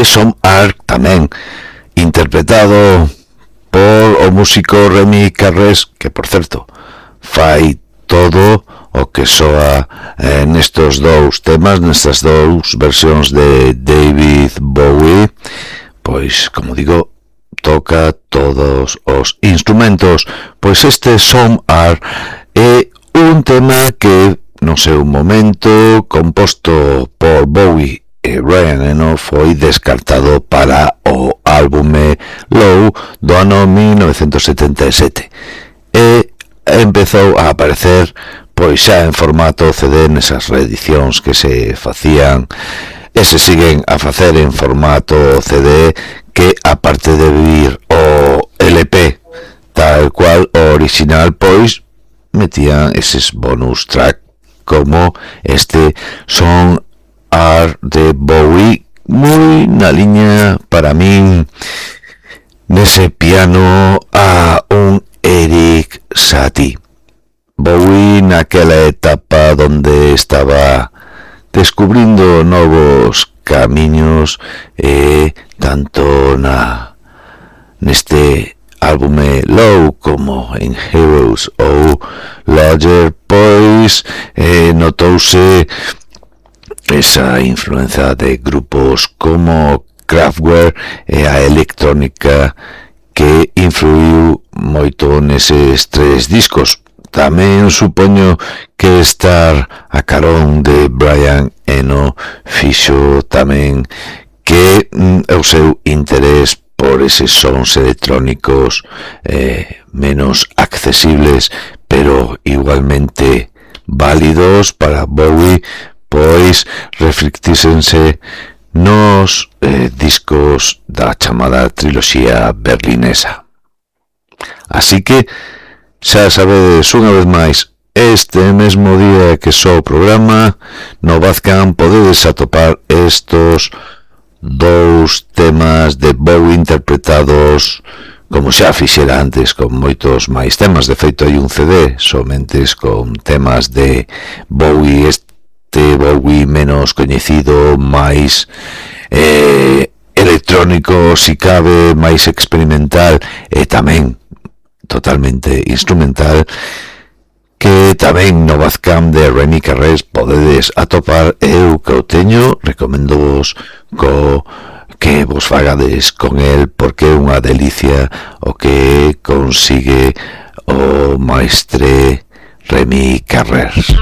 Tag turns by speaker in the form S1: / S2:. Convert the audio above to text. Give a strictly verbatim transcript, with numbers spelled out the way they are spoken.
S1: este Some Are tamén interpretado por o músico Remy Carrés, que por certo fai todo o que soa eh, nestos dous temas, nestas dous versións de David Bowie. Pois, como digo, toca todos os instrumentos. Pois este Some Are é un tema que no seu momento composto por Bowie e Brian Eno foi descartado para o álbume Low do ano mil novecentos setenta e sete e empezou a aparecer pois xa en formato C D nesas reedicións que se facían e se siguen a facer en formato C D, que aparte de vir o L P tal cual o original, pois metían eses bonus track como este Some Are de Bowie, moi na liña para min nese piano a un Eric Satie. Bowie naquela etapa donde estaba descubrindo novos camiños e tanto na neste álbume Low como en Heroes ou Lodger, pois eh, notouse esa influencia de grupos como Kraftwerk e a electrónica que influiu moito neses tres discos. Tamén supoño que estar a carón de Brian Eno fixo tamén que mm, o seu interés por eses sons electrónicos eh, menos accesibles, pero igualmente válidos para Bowie, pois reflectísense nos eh, discos da chamada triloxía berlinesa. Así que xa sabedes unha vez máis, este mesmo día que só o programa no Bandcamp podedes atopar estos dous temas de Bowie interpretados como xa fixera antes con moitos máis temas. De feito hai un C D somente con temas de Bowie, este Bowie menos coñecido, máis eh, electrónico si cabe, máis experimental e tamén totalmente instrumental, que tamén no Bandcamp de Remy Carrés podedes atopar. Eu que o teño, recomendo vos co que vos fagades con el, porque é unha delicia o que consigue o maestre Remy Carrés.